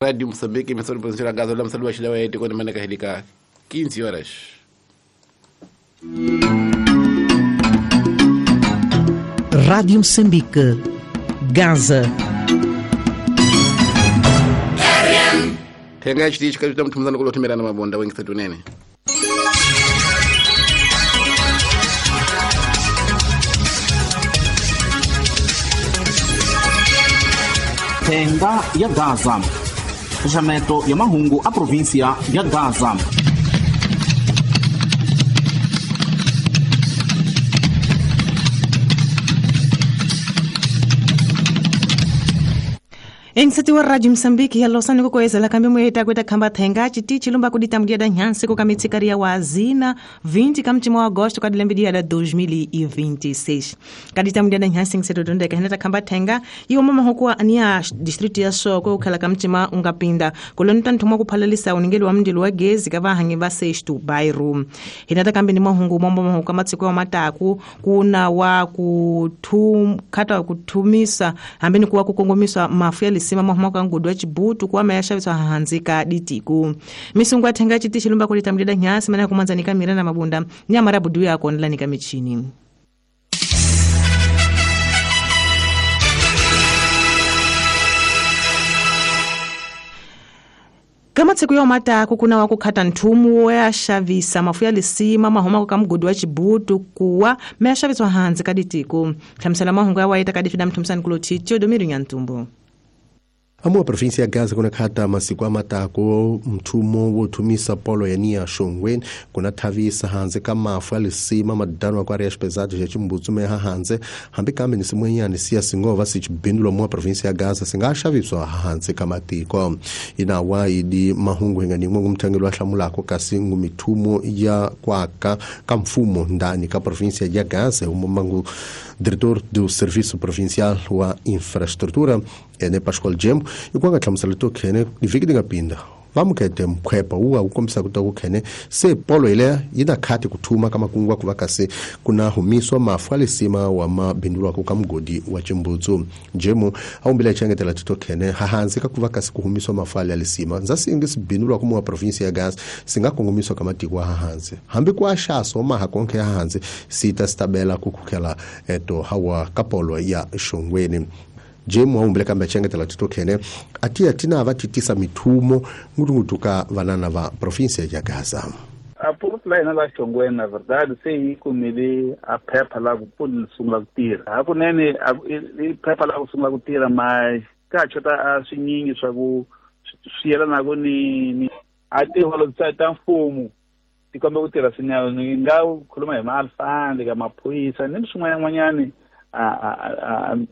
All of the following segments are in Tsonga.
Rádio Moçambique, emissora provincial Gaza, la msali wa shilawa yetu kwa maana kahilika 15 horas. Rádio Moçambique, Gaza. Tenga chiti chikatuta mtumzano kulotimera na mabonda wengi satunene. Tenga ya Gaza. Xaxameto ya mahungu a província ya Gaza. Engsati wa Radio Msambiki ya Losani kukoezela kambi mweta kweta khamba thenga chiti chilumba kudita mdia nhansi kukamitsikariya wa azina 20 kamchimo wa agosto kadilembidia da 2026 kadita mdia nhansi ngisetodondeka hinata khamba thenga iwo mama hukuwa ania district ya Soko ukhala kamchima ungapinda kulonta nthumwa kuphalalisa uningeli wa mndilo wa gezi kavahangi va sexto bairro hinata kambi ni mahungu mombo mahuku kamatsiko wa mataku kuna wa kuthum khata kuthumisa hambeni kuwa kukongomisa mafu ya sima mahuma ngudu ya chibutu kwa mayasha hanzika ditiku misungu athenga chiti chilumba kulita mdida nyasi mana kumanzanika mira na mabunda nyamara budu yako ndlanika michini. Kama tsiku ya mataku kuna wakukhata nthumu woyashavisa mafu ya lisima mahuma ka mugodi wa chibutu kuwa mayashaviswa hanzi kaditiku hlamusela mahungu ya waita kadifida mthumisani kulo Teodomiro Nyantumbo. Amua província ya Gaza kuna khata masiku amatako mthumo wothumisa polo ya nia Shongweni kuna thavisa hanze ka mafu ya lisima madano kwa areias pesadas ya chimbutsu meha hanze hambi kambe ni simwenyani siya singova sichibindulwa mua província ya Gaza singashaviswa hanze kamatiko inawa idi mahungu hinganimwe ngumthangelo wa hlamulako kasi ngumithumo ya kwaka ka mfumo ndani ka província ya Gaza umamangu diretor do Serviço Provincial wa Infraestrutura ene Pascoal Jembo ikwanga hlamusela to khene ivhiki ti nga pinda vamukete mkhwepa wu wu kombisa ku ta ku khene se polo ile yi na khati ku thuma ka makungu ku va kasi ku na humiswa mafu ya lisima wa mabindulwako ka mugodi wa chimbutsu Jemo a wumbile chengetela tito khene hahansi ka ku va kasi ku humiswa mafu ya lisima ndza singi sibindulwako mu wa province ya Gaza singa kongomiswa ka matiko wa hahansi hambi ku axaso maha konke ya hahansi sita sitabela ku khukhela eto hawa ka polo ya Shongweni. Jemu aumbile kambe chengetela tito khene atiya tina va titisa mithumo ngutungutu ka vanana va província ya Gaza. A porto la hina la Shongweni na verdade se yi kumile a phepha la ku pfuna sungula ku tirha hakunene i phepha la ku sungula ku tirha mas ka chota a swinyingi swa ku swi yelanaka ni a tiholo ta mfumo ti komba ku tirha swinene ni nga khuluma hi ma-alfandi ka maphorisa ni swin'wananyana ni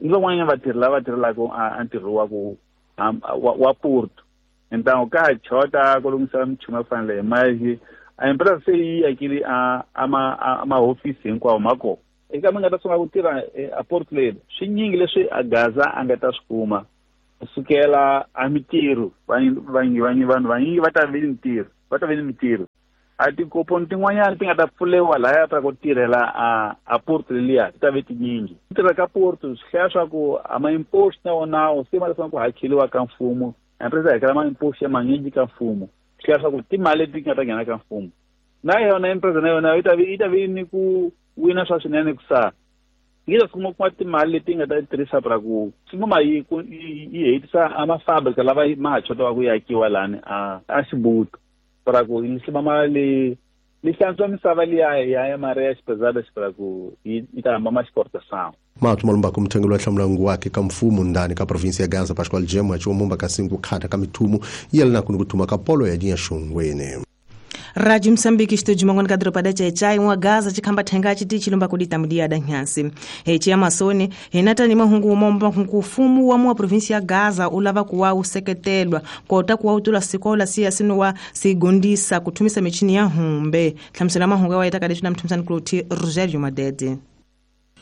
van'wanyana vatirhi lava tirhelaka a ntirho wa ku wa porto então ka chota ku lunghisa michumu yo fanele mas a empresa se yi akile a mahofisi hinkwawo ma kona eka mi nga ta sungula ku tirha a porto leri swinyingi leswi a Gaza a nga ta swi kuma kusukela a mitirho vanhu vanyingi va ta vi ni ntirho va ta vi ni mitirho a tikoponi tin'wanyana ti nga ta pfulewa lahaya ta ku tirhela a porto leliya ti ta ve tinyingi ku tirha ka porto swi hlaya swa ku a ma-impost na wonawo se ma leswaku ku hakeliwa ka mfumo empresa hakela ma-impost ya manyingi ka mfumo swi hlaya swa ku timali leti nga ta nghena ka mfumo na yona empresa na yona yi ta vi ni ku wina swa swinene ku sa yi ta sungula kuma timali leti nga ta tirhisa pra ku sungula yi hetisa a mafabrika lava ma ha chotiwa ku yakiwa lani a Xibutu para ku lisima mali lihlantswa misava liya ya maria xipezada xipera ku yi ta hamba ma exportação. Matu malumbako mthengelo wa hlamula wake ka mfumo ndani ka província ya Gaza Pascoal Jemo achiwomumba kasi ku khata ka mithumo yelana kuni kuthuma ka polo ya dinya Shongweni. Rádio Moçambique estúdio mangoni kadropa da chechai wa Gaza chikhamba thenga chiti chilumba kudita mudia da nhansi hechi ya masoni hinata ni mahungu momba kufumu wa mwa província ya Gaza ulava kuwa useketelwa kota kuwa utula sikola siya sinuwa sigondisa kuthumisa michini ya humbe hlamusela mahungu wa ita kadishu na mthumisani kuloti Rogerio Madede.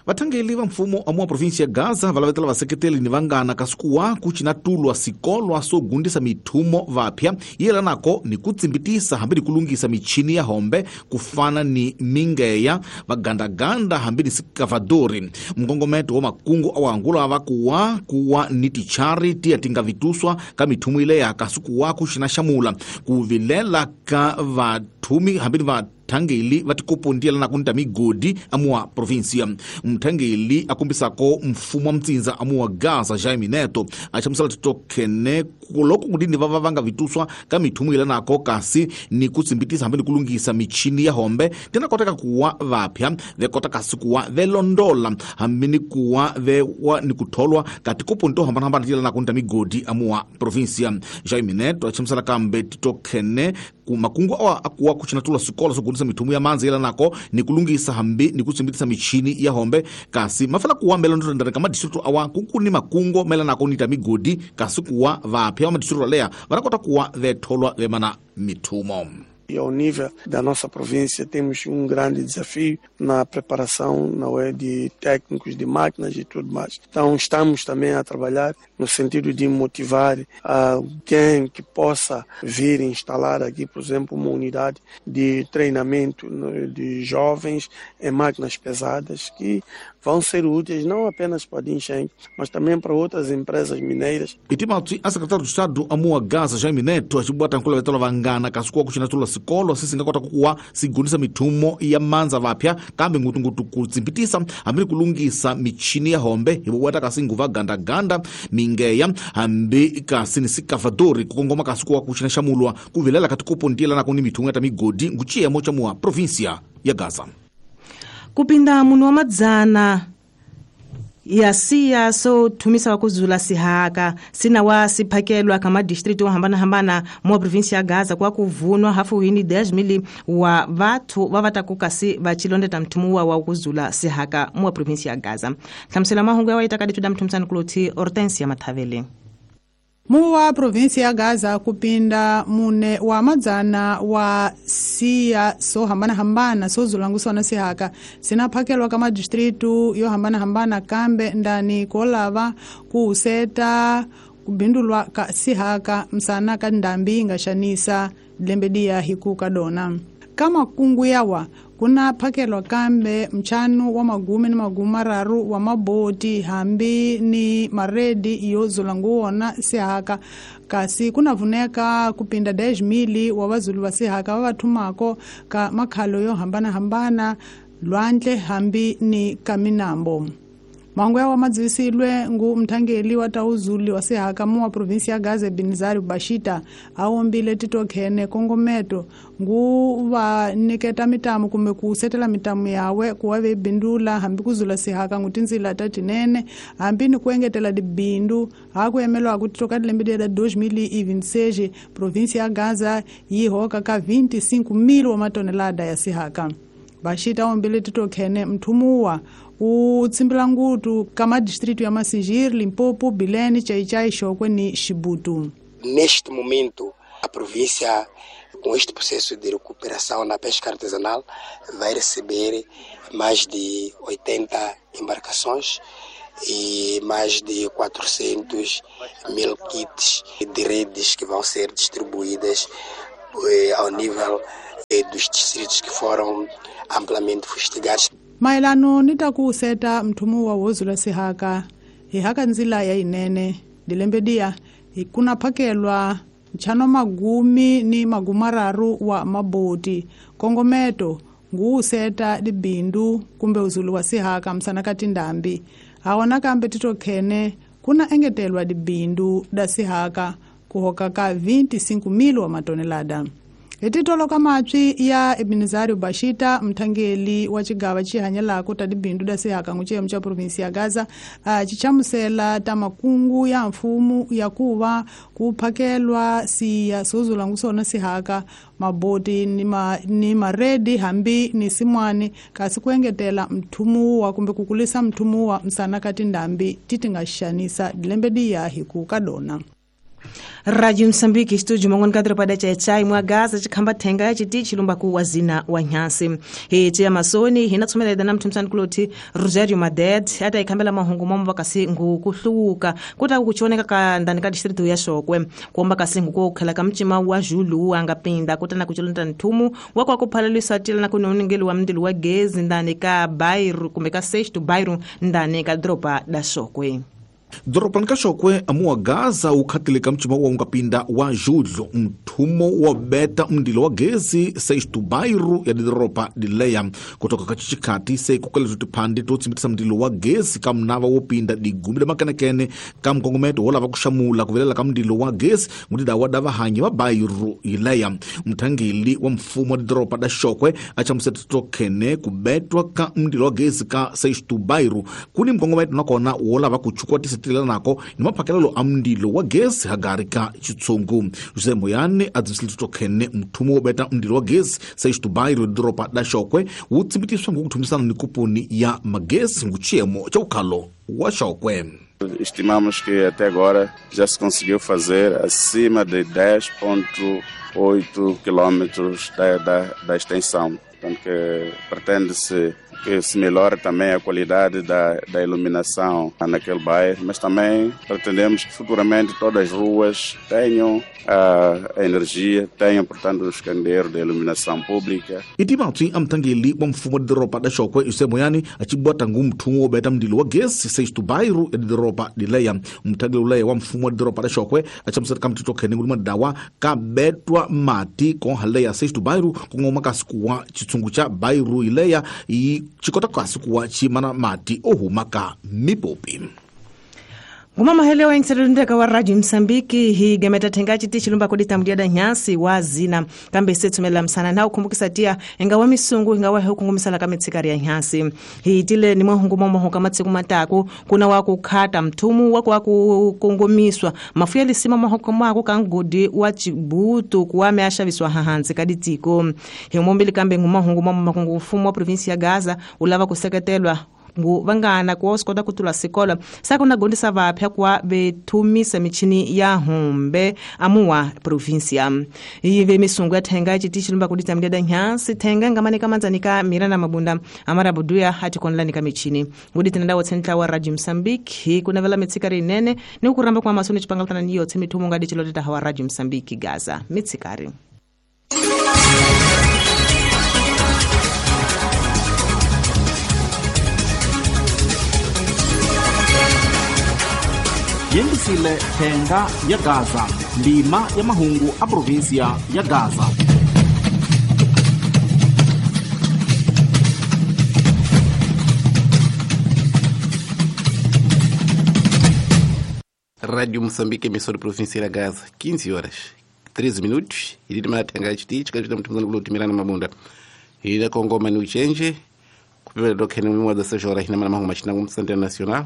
Vathangeli va mfumo amuwa provinsia ya Gaza va lavetela vaseketeli ni vangana kasi kuwa ku cinatulwa sikolwa swo gundisa mithumo vapya yi yelanako ni ku tsimbitisa hambi ni ku lunghisa michini ya hombe ku fana ni mingeya vagandaganda hambi ni sikavadori. Mkongometo wa makungu awangula va kuwa kuwa ni tichari tiya ti nga vituswa ka mithumo ileya kasi kuwa ku xinaxamula ku vilela ka vathumi hambi ni vathangeli va tikopo na kunta migodi amuwa provinsia. Mthangeli akumbisako mfumo wa mtsinza amuwa Gaza Jaime Neto achamusela titokene loko kudini va vanga vituswa ka mithumo yelanako kasi ni kutsimbitisa hambi ni kulungisa michini ya hombe tena koteka kuwa vapya vekota kasi kuwa velondola hambi ni kuwa vewa ni kutholwa ka tikopo to hambanahambana tiyelana kunta migodi amuwa provinsia. Jaime Neto achamusela kambe titokene makungu awa akuwa kuchinatula sikolo sokugundisa mithumo ya manzi yelanako ni kulungisa hambi ni kutsimbitisa michini ya hombe kasi mafala kuwa melondolendana ka madistritu awa kukuni makungo melanako nita migodi kasi kuwa vapya wa madistritu alea vanakota kuwa vetholwa vemana mithumo. E ao nível da nossa província temos um grande desafio na preparação, não é, de técnicos, de máquinas e tudo mais. Então estamos também a trabalhar no sentido de motivar alguém que possa vir instalar aqui, por exemplo, uma unidade de treinamento de jovens em máquinas pesadas que vão ser úteis não apenas para Dinxeng, mas também para outras empresas mineiras. E Timothy, a secretário do Estado amua Gaza Jaime Neto achibwata nkula vetola vangana kasi kuwa kuchinatula sikolo sisingakota kuwa sigundisa mithumo ya manza vapya kambe ngutungutu kutsimbitisa hambi kulungisa michini ya hombe hivobwata kasi nguva gandaganda mingeya hambi kasi ni sikavadori kukongoma kasi kuwa kuchinaxamulwa kuvilela katikopo ndiyelana kuni mithumo ya ta migodi nguciyemo cha mua provinsia ya Gaza. Kupinda munhu wa madzana ya siya so thumisa wa kuzula sihaka sina wa siphakelwa ka madistritu yo hambanahambana mo provinsia ya Gaza kwa kuvunwa hafu hini 10,000 wa vathu va va taku kasi va chilondeta mthumu wa kuzula sihaka mo provinsia ya Gaza. Hlamusela mahungu ya waita kaditu da mthumisani kuloti Hortensia Mathavele. Muwa provinsia ya Gaza kupinda mune wa madzana wa siya so hambana hambana so zulanguso na sihaka sinaphakelwa ka madistritu yo hambana hambana kambe ndani kolava kuuseta kubindulwa ka sihaka msana ka ndambi nga xanisa lembedia hikuka dona kama kungu yawa kuna phakelwa kambe mchanu wa magume ni magume mararu wa maboti hambi ni maredi yo zulanguwona sihaka kasi kuna vuneka kupinda 10,000 wa vazulu va sihaka va vathumako ka makhalo yo hambana hambana lwandle hambi ni kaminambo. Mahungu yawa madziwisilwe ngu mthangeli wa tauzuli wa sihaka mu wa provinsi ya Gaza Binzari Bashita awombile titokhene kongometo ngu va niketa mitamu kumbe kusetela mitamu yawe kuwa vebindula hambi kuzula sihaka ngu tindzila ta tinene hambi ni kuengetela dibindu hakuyemelwa ku titoka dilembe la 2026 provinsi ya Gaza yi hoka ka 25,000 wa matonelada ya sihaka. Bashita awombile titokhene mthumuwa utsimbila ngutu kama distrito ya Massingir, Limpopo, Bilene, Chaichai, Chokwe ni Chibuto. Neste momento, a província, com este processo de recuperação na pesca artesanal, vai receber mais de 80 embarcações e mais de 400.000 kits de redes que vão ser distribuídas ao nível dos distritos que foram amplamente fustigados. Maelano ni ta ku seta mthumu wa wozula sihaka hi haka ndzila ya inene dilembedia kuna phakelwa nchano magumi ni magumararu wa maboti kongometo ngu seta dibindu kumbe uzulu wa sihaka msana kati ndambi awona kambe titokhene kuna engetelwa dibindu da sihaka kuhoka ka 25,000 wa matonelada. Etitolo kamatswi ya Ebenezari Bashita mthangeli wa chigava chihanyelako ta dibindu da sihaka nguchiyemo cha provinsi ya Gaza chichamusela ta makungu ya mfumu ya kuva kuphakelwa siya sozula ngusona sihaka maboti ni maredi hambi ni simwani kasi kuengetela mthumuwa kumbe kukulisa mthumuwa msana kati ndambi titi nga xanisa dilembedi ya hiku kadona. Radio Msambiki studio mangoni kadro pada cha chai mwa Gaza chikhamba thenga chiti chilumba ku wazina wa nyasi hiti ya masoni hina tsomela na mthumsani kuloti Rosario Maded ata ikhambela mahungu momba kasi ngukuhluka kuta kuchoneka ka ndani ka district ya Shokwe kuomba kasi ngukukhela ka mchima wa Julu angapinda kuta na kucholonta nthumu wakwa kuphalalisa tila na kunoningeli wa mndilo wa gezi ndani ka Bairro kumbe ka sexto bairro ndani ka dropa da Shokwe. Doropani ka Shokwe amuwa Gaza ukhatile ka mchima wa ungapinda wa Julho mthumo wa beta mndilo wa gezi sexto bairro ya doropa dileya kutoka ka chichikhati se kukeleto tiphandi to tsimbitisa mndilo wa gezi ka mnava wo pinda digumi la makenekene ka mkongometo wo lava kuxamula ku vilela ka mndilo wa gezi ngutidawa da vahanyi va bairro yileya. Mthangeli wa mfumo wa doropa da Shokwe a chamuseta tokhene ku betwa ka mndilo wa gezi ka sexto bairro kuni mkongometo nakona wo lava ku chukwatisa nako ni maphakelelo a mndilo wa gezi hagari ka chitsungu. José Moyane a dzivisile tokhene mthumo wo beta mndilo wa gezi sexto bairro doropa da Shokwe wu tsimbitiswa ngukuthumisana ni kupuni ya magezi nguchiyemo cha ukhalo wa Shokwe. Estimamos que até agora já se conseguiu fazer acima de 10,8 quilômetros da extensão. Portanto, que pretende-se que se melhore também a qualidade da iluminação naquele bairro, mas também pretendemos que futuramente todas as ruas tenham a energia, tenham, portanto, os candeeiros de iluminação pública. Itimatsi amthangeli wa mfumo wa doropa da Shokwe José Moyane a chibwata ngu mthumo wo beta mndilo wa gesi sexto bairro ya doropa dileya. Mthangeli uleya wa mfumo wa doropa da Shokwe a chamuseta ka mthitho khene nguli madawa ka betwa mati konhaleya sexto bairro kungoma kasi kuwa chitsungu cha bairro ileya i chikota kasi kuwa chimana mati ohuma ka mipopi. Ngumamahelewa engiselulundeka wa Radio Msambiki hi gemeta thenga chiti chilumba kudita mdiada nyasi wa zina kambe setsumela msana na ukumbukisa tia ingawa misungu ingawa hukungumisala kamitsikari ya nyasi hi tile ni mwahungu momo kamatsiku mataku kuna wakukhata mthumu wako wakukongomiswa mafuya lisima mahoko mako kangodi wa chibutu kuwame ashaviswa hahanzi kaditiko hi mombili kambe ngumahungu momo makungu mfumo wa provinsi ya Gaza ulava kuseketelwa ngu vangana kuwa usikota kutula sikolo sakuna gondisa vapya kuwa vethumisa michini ya humbe amuwa provinsia ive misungu ya thenga chiti chilumba kudita mdiada nyansi thenga ngamanika manzanika mira na mabunda amarabuduya hati konlanika michini nguditi nadawo tsentla wa Radio Msambiki kunavela mitsikari inene ni ukuramba kwa masoni chipangalutana niyo tsemithumo ngadi chiloteta hawa Radio Msambiki Gaza mitsikari. Yengisile thenga ya Gaza ndima ya mahungu a provinsia ya Gaza. Rádio Moçambique, emissora província da Gaza, 15 horas 13 minutos. E de matenga chiti chikachita mtumzano kulotimira na mabunda. Ida Kongo mani uchenje kupepela dokhene mwa da 6 horas hina mahungu machina kumsante national.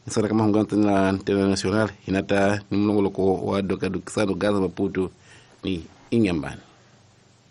Nisana kama hungu na international hinata ni mlongoloko wa dokadukisano Gaza Maputo ni Inhambane.